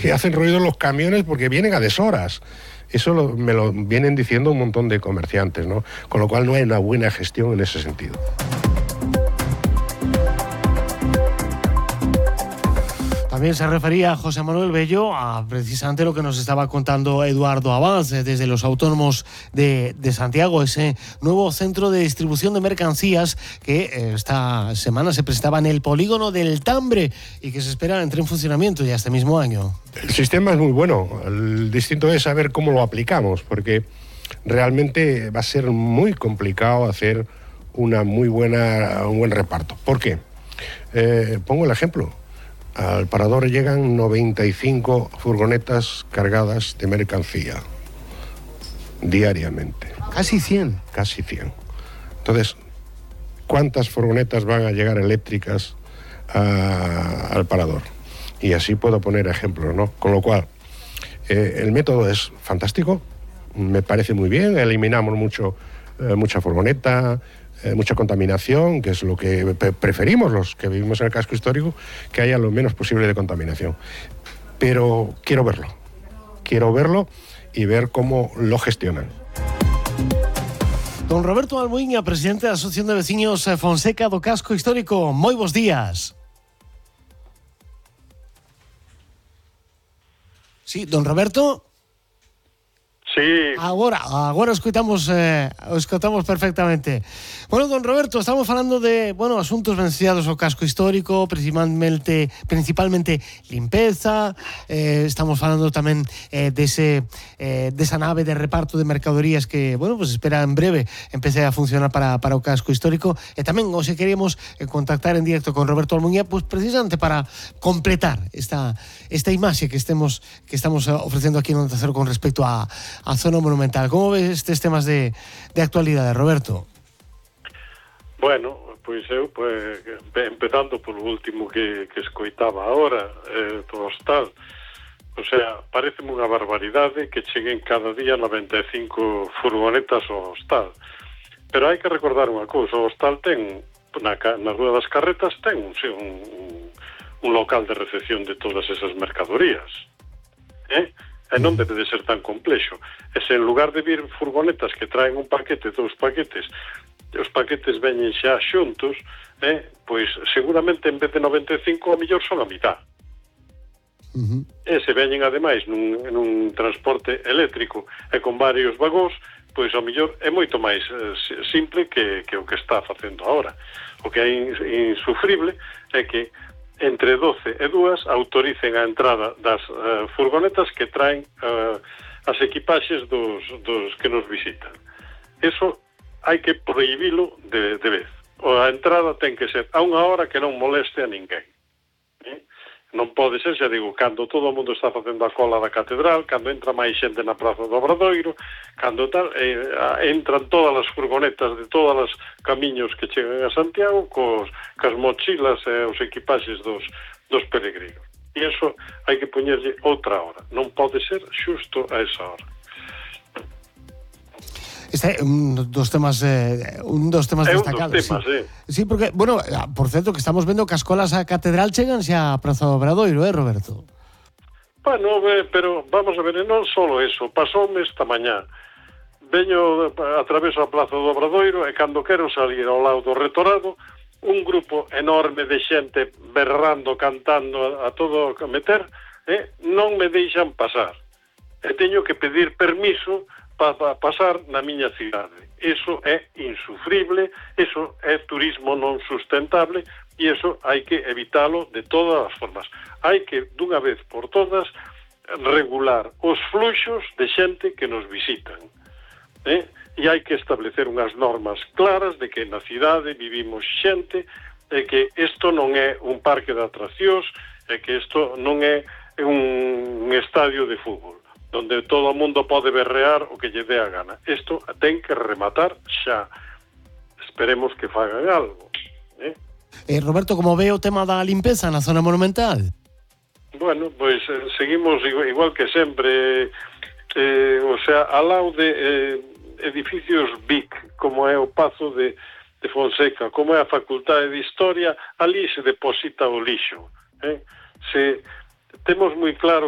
que hacen ruido los camiones porque vienen a deshoras. Eso me lo vienen diciendo un montón de comerciantes, ¿no? Con lo cual no hay una buena gestión en ese sentido. También se refería José Manuel Bello a precisamente lo que nos estaba contando Eduardo Abad desde los autónomos de Santiago, ese nuevo centro de distribución de mercancías que esta semana se presentaba en el polígono del Tambre y que se espera entre en funcionamiento ya este mismo año. El sistema es muy bueno, el distinto es saber cómo lo aplicamos, porque realmente va a ser muy complicado hacer un buen reparto. ¿Por qué? Pongo el ejemplo. Al parador llegan 95 furgonetas cargadas de mercancía diariamente. Casi 100. Casi 100. Entonces, ¿cuántas furgonetas van a llegar eléctricas al parador? Y así puedo poner ejemplos, ¿no? Con lo cual, el método es fantástico, me parece muy bien, eliminamos mucha furgoneta, mucha contaminación, que es lo que preferimos los que vivimos en el casco histórico, que haya lo menos posible de contaminación. Pero quiero verlo y ver cómo lo gestionan. Don Roberto Almuiña, presidente da Asociación de Veciños Fonseca do Casco Histórico. Moi bons días. Sí, don Roberto? Sí. Agora escoitamos perfectamente. Bueno, don Roberto, estamos falando de, asuntos venciados ao casco histórico, principalmente limpeza, estamos falando tamén desa nave de reparto de mercadorías que, pues espera en breve empece a funcionar para o casco histórico, e tamén hoxe queremos contactar en directo con Roberto Almuña, pues precisamente para completar esta imaxe que estamos ofrecendo aquí en Onda Cero con respecto a zona monumental. Como ves estes temas de actualidade, Roberto? Bueno, pois eu empezando polo último que escoitaba agora, do hostal. O sea, pareceme unha barbaridade que cheguen cada día 95 furgonetas ao hostal. Pero hai que recordar unha cousa, o hostal ten, na Rúa das Carretas, ten un local de recepción de todas esas mercadorías. E non debe de ser tan complexo. E se en lugar de vir furgonetas que traen un paquete, 2 paquetes, os paquetes veñen xa xuntos, pois seguramente en vez de 95 a mellor son a mitad. E se veñen ademais nun transporte eléctrico e con varios vagóns, pois a mellor é moito máis simple que o que está facendo agora. O que é insufrible é que entre 12 e 2 autoricen a entrada das furgonetas que traen as equipaxes dos que nos visitan. Eso hai que prohibilo de vez. A entrada ten que ser a unha hora que non moleste a ninguén. Non pode ser, xa digo, cando todo o mundo está facendo a cola da catedral, cando entra máis xente na Praza do Obradoiro, cando tal, entran todas as furgonetas de todos os camiños que chegan a Santiago cas mochilas e os equipaxes dos peregrinos. E iso hai que poñerlle outra hora. Non pode ser xusto a esa hora. Este é un dos temas destacados. Sí, porque, por certo, que estamos vendo que as colas á catedral chegan xa a Praza do Obradoiro, Roberto? Bueno, pero vamos a ver, non só eso, pasoume esta mañá. Veño a través da Praza do Obradoiro e cando quero salir ao lado do Retorado, un grupo enorme de xente berrando, cantando a todo a meter, non me deixan pasar. E teño que pedir permiso para pasar na miña cidade. Eso é insufrible, eso é turismo non sustentable e eso hai que evitalo de todas as formas. Hai que, dunha vez por todas, regular os fluxos de xente que nos visitan. E hai que establecer unhas normas claras de que na cidade vivimos xente e que isto non é un parque de atraccións e que isto non é un estadio de fútbol donde todo o mundo pode berrear o que lle dé a gana. Isto ten que rematar xa. Esperemos que fagan algo. Roberto, como ve o tema da limpeza na zona monumental? Bueno, pois seguimos igual que sempre, ao lado de edificios BIC, como é o Pazo de Fonseca, como é a Facultade de Historia, ali se deposita o lixo. Se temos moi claro que